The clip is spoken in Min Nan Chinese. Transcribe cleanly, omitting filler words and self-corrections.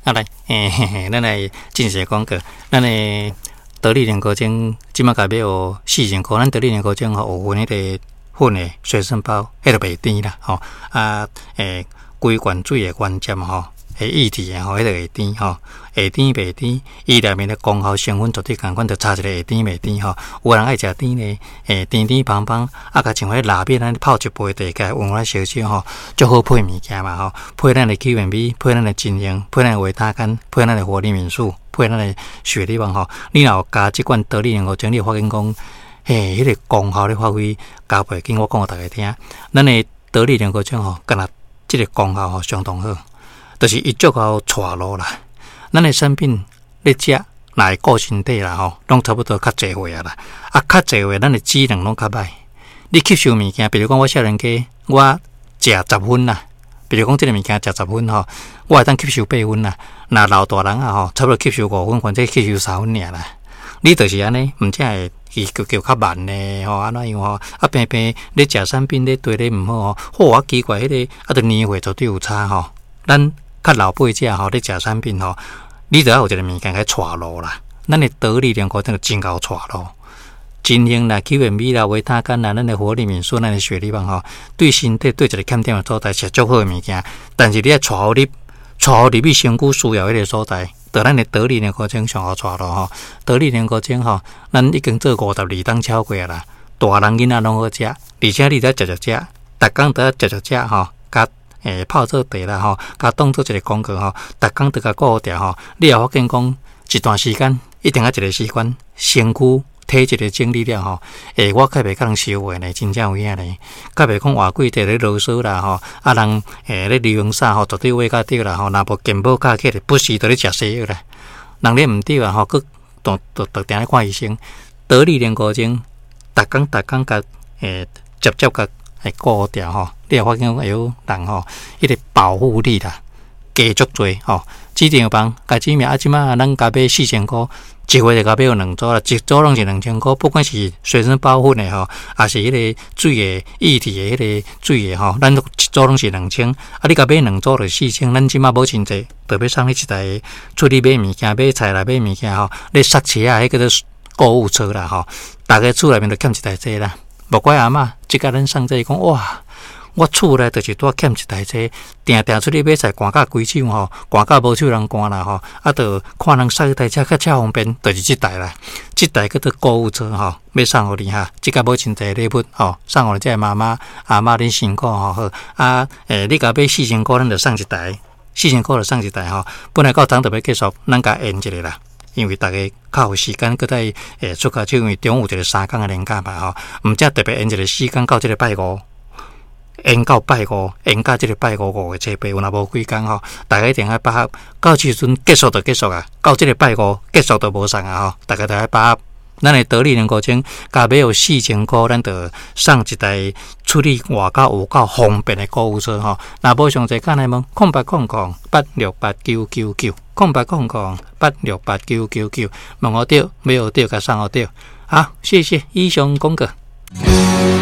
啊來，嘿嘿嘿，咱來進行廣告，咱的得力練歌精，這擺共買予四千箍，咱得力練歌精吼有分彼個粉的隨身包，彼個袂甜啦，吼啊，規罐水的原汁吼，會液體的吼，彼個會甜吼，會甜袂甜，伊內面的功效成分絕對仝款，就差一个會甜袂甜吼。有人愛食甜的，甜甜芳芳，啊，共像彼臘味按呢泡一杯茶，共溫溫燒燒吼，足好配物件嘛吼，配咱的 Q&B，配咱的晶瑩，配咱的維他乾，配咱的活力敏素，配咱的雪利旺吼。你若有加這罐得力能夠精，你會發現講，嘿，彼個功效咧發揮加倍緊。我講予大家聽，咱的得力能夠精吼，敢若這个功效吼相當好，就是伊足夠帶路啦。咱的產品咧食，若會顧身體啦吼，攏差不多較濟歲啊啦。啊，較濟歲，咱的機能攏較歹。你吸收物件，比如講我少年家，我食10分啦，比如講這个物件食十分吼，我會當吸收8分啦。若老大人啊吼，差不多吸收5分，或者吸收3分爾啦。你就是按呢，毋才會伊叫叫較慢呢吼，按怎樣吼？啊，平平咧食產品咧對你毋好吼，好啊奇怪，彼个啊，著年歲絕對有差吼。咱較老輩者吼，咧食產品吼，你著愛有一个物件共帶路啦。咱的得力兩個真真𠢕帶路，晶瑩啦、Q&B 啦、維他乾啦、咱的活力敏素、咱的雪利旺吼，對身體對一个欠點的所在是足好的物件。但是你愛帶予你，帶予入去身軀需要彼个所在，著咱的得力兩個精上好帶路吼。得力兩個精吼，咱已經做52冬超過啦。大人囡仔攏好食，而且你著食食食，逐工著愛食食食吼，共泡做茶啦吼，共當做一个工具吼，逐工著共顧著吼，你也發現講一段時間一定愛一个習慣，身軀體質的整理了吼，我較袂共人相話呢，真正有影呢，較袂講活幾塊咧囉嗦啦吼，啊人咧流行啥吼，絕對話較對啦吼，若無健保卡起來，不時著咧食西藥啦，人咧毋對啊吼，閣都都都定咧看醫生，得力練歌精，逐工逐工共接接共顧著吼，你會發現講會有人吼，彼个保護力啦，加足濟吼。指定房共指名啊，這擺咱共買四千箍，一回就共買予兩組啦，一組攏是2000箍，不管是隨身包粉的吼，抑是彼个水的液體的彼个水的吼，咱一組攏是兩千，啊，你共買兩組就四千，咱這擺無真濟，就欲送你一台出去買物件、買菜啦、買物件吼，咧塞車啊，彼叫做購物車啦吼，逐个厝內面就欠一台這啦。莫怪阿嬤，這個咱送這講哇，我厝內就是拄欠一台這，定定出去買菜，寒甲規手吼，寒甲無手人寒啦吼，啊，著看人駛彼台車較車方便，就是這台啦，這台叫做購物車吼，欲送予你哈，這個無真濟禮物吼，送予這个媽媽阿嬤恁辛苦吼好，啊，你共買四千箍，咱就送一台，四千箍就送一台吼，本來到昨就欲結束，咱共延一下啦。因為逐家較有時間，閣再出較手，因為中午有一個3工的連假嘛吼，毋才特別延一個時間到這个拜五，延到拜五，延到這个拜五5月初8，有若無幾工吼，逐家一定愛把握，到時陣結束就結束啊，到這个拜五結束就無送啊吼，逐家著愛把握。咱的得力能夠精，共買予四千箍，咱就送一台出去外口有夠方便的購物車吼。若無詳細，敢來問0800868999，0800868999，問予著，買予著，共送予著。好，謝謝，以上廣告。